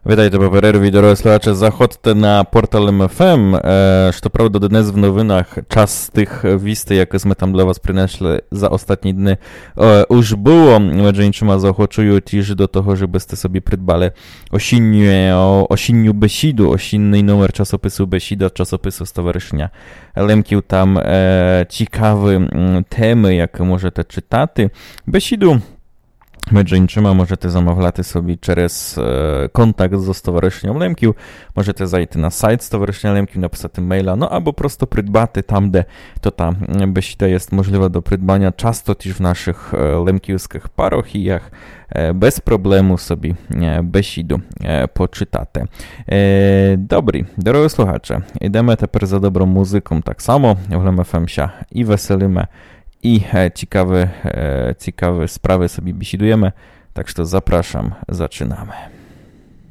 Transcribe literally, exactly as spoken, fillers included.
Вітайте по перерві, дорогы слухаче. Заходте на портал М Ф М. Е, што правда, днес в новинах част з тых вістей, якы сьме там для вас принесли за остатні дни, е, уж было. Меджі иншыма, заохочую тіж до того, жебы сте собі придбали осінню, о, осінню бесіду, осінный номер часопису Бесіда, часопису Стоваришыня Лемків. Там, е, цікавы, м, темы, якы можете читати. Бесіду, меджі иншыма, можете замавляти собі через, е, контакт зо Стоваришыньом Лемків, можете зайти на сайт Стоваришыня Лемків, написати мейла, но або просто придбати там, де то та, м, бесіда єст можлива до придбаня, часто тіж в нашых, е, лемківскых парохіях, е, без проблему собі, е, бесіду, е, почитати. Е, добрі, дорогы слухаче, ідеме тепер за добром музыком так само, в Лем Ф М ся і веселиме, і, е, цікавы, е, цікавы справы собі бесідуєме, так што запрашам, зачинаме.